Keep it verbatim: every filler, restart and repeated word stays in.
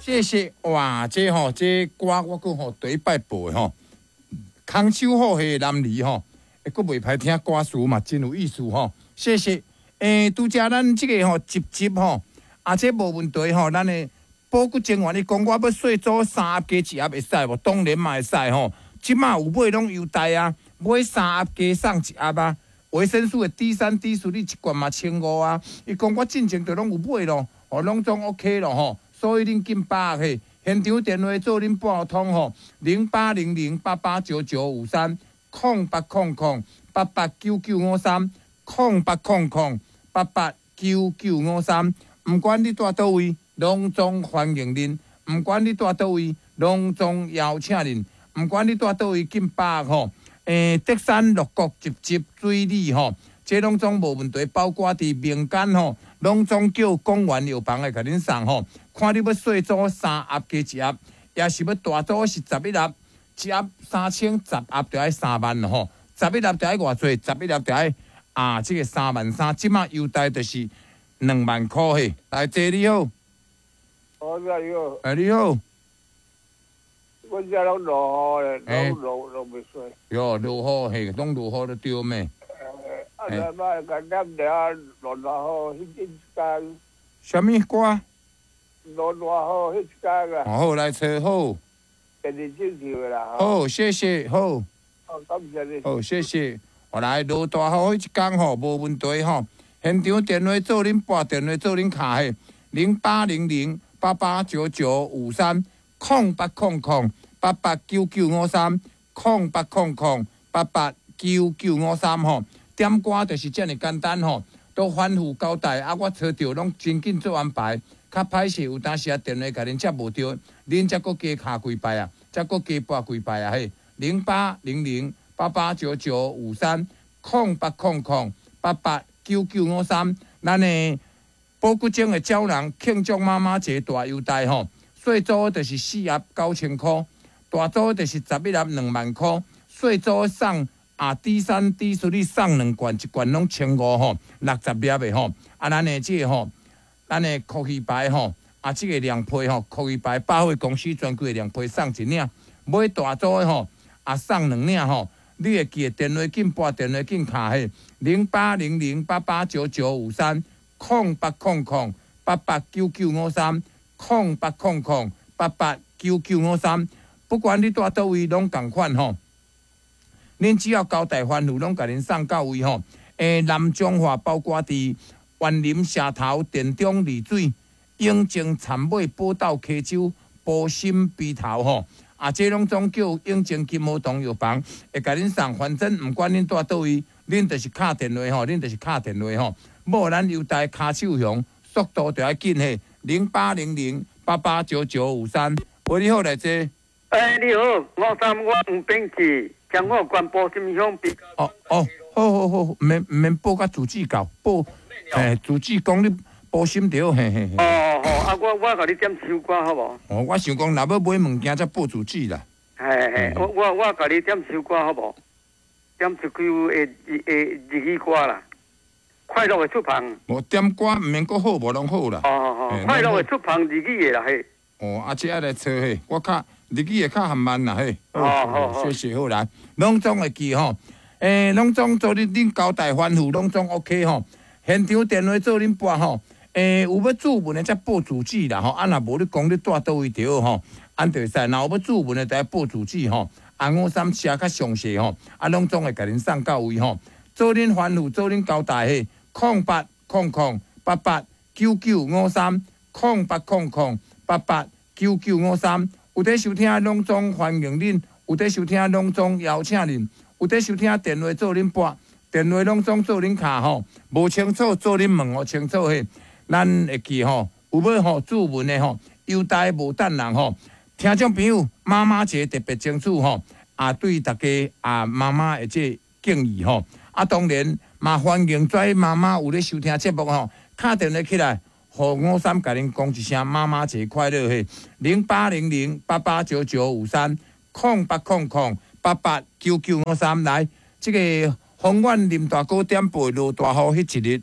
謝謝。哇，這吼，這歌我閣吼第一擺播的吼，空手好戲男兒吼，會閣袂歹聽歌詞嘛，真有意思吼。謝謝。欸，拄才咱這個吼，集集吼，啊，這無問題吼，咱的保骨精華，你講我欲細組三盒加一盒會使無？當然嘛會使吼。這馬有買攏優待啊，買三盒加送一盒啊。維生素的 D 三、D 四，你一罐嘛千五啊。伊講我進前就攏有買咯，哦，攏總 OK 咯吼。所以恁緊把握嘿，現場電話做恁撥通吼，零八零零八八九九五三，空八空空八八九九五三，空八空空八八九九五三。毋管你蹛佗位，攏總歡迎恁；毋管你蹛佗位，攏總邀請恁；毋管你蹛佗位，緊把握吼。欸，竹山六國集集水里吼，這攏總無問題，包括佇民間吼，攏總叫廣元藥房來共恁送吼。看你欲細組三盒加一盒，抑是欲大組是十一盒，一盒三千，十盒就愛三萬吼。十一盒就愛偌濟，十一盒就愛啊，這個三萬三，這馬優待就是兩萬箍嘿。來，坐你好。哦，你好。欸，你好。我遮攏落雨咧，攏落落袂水。喲，落雨嘿，攏落雨就對咩？啊，那擺共念著落大雨，彼一工。啥物歌？落大雨彼一工啊。好，來揣好。電視正唱的啦。好，謝謝，好。好，感謝你。好，謝謝。後來落大雨彼一工吼，無問題吼。現場電話做恁撥電話做恁敲嘿，零八零零八八九九五三，空八空空八八九九五三，空八空空八八九九五三吼。點歌就是遮爾簡單吼，都反覆交代啊！我揣著攏真緊做安排，較歹勢有當時啊電話共恁接無著，恁才閣加敲幾擺啊，才閣加撥幾擺啊嘿，零八零零八八九九五三，空八空空八八九九五三，咱的保骨精的膠囊慶祝媽媽節大優待吼，細組就是四盒九千箍，大組就是十一盒兩萬箍，細組送。啊，D 三 D 四你送兩罐，一罐攏千五吼，六十粒的吼。啊，咱的這個吼，咱的科技牌吼，啊，這個涼皮吼，科技牌百貨公司專櫃涼皮送一領，買大組的吼，啊送兩領吼。你會記得電話緊撥，電話緊敲嘿，零八零零八八九九五三，空八空空八八九九五三，空八空空八八九九五三。不管你蹛佗位，攏仝款吼。恁只要交代吩咐，攏共恁送到位吼。欸，南彰化包括佇員林、社頭、田中、麗水、永靖、杉尾、寶斗、溪州、埔心、埤頭吼。啊，這攏總叫永靖金和堂藥房會共恁送。反正毋管恁蹛佗位，恁就是敲電話吼，恁就是敲電話吼。無咱優待跤手熊，速度就愛緊嘿，零八零零八八九九五三。喂，你好，來坐。欸，你好，我三我黃炳志。彰化縣埔心鄉。哦哦，好好好，毋免毋免報甲住址到，報，嘿，住址講你埔心著，嘿嘿嘿。哦哦，啊，我我共你點首歌好無？哦，我想講，若欲買物件才報住址啦。嘿嘿，我我我共你點首歌好無？點一句的的日語歌啦，快樂的出帆。無點歌毋免閣好無攏好啦。哦哦，快樂的出帆日語的啦嘿。哦，啊，這愛來揣嘿，我較。日語會較含慢啦嘿，哦好，謝謝好來，攏總會記吼，欸，攏總做恁恁交代吩咐，攏總 OK 吼。現場電話做恁撥吼，欸，有欲注文的才報住址啦吼，啊若無你講你蹛佗位著吼，按就會使。若有欲注文的，就愛報住址吼。啊，五三寫較詳細吼，啊，攏總會共恁送到位吼。做恁吩咐，做恁交代嘿，空八空空八八九九五三，空八空空八八九九五三。有佇收聽，攏總歡迎恁；有佇收聽，攏總邀請恁；有佇收聽，電話做恁撥，電話攏總做恁敲吼。無清楚做恁問予清楚嘿。咱會記吼，有欲吼注文的吼，優待無等人吼。聽眾朋友，媽媽節特別爭取吼，啊對大家啊媽媽的這敬意吼。啊，當然嘛歡迎跩媽媽有咧收聽節目吼，敲電話起來。予五三共恁講一聲媽媽節快樂嘿，零八零零八八九九五三，空八空空八八九九五三來，這個宏遠林大哥點播落大雨彼一日。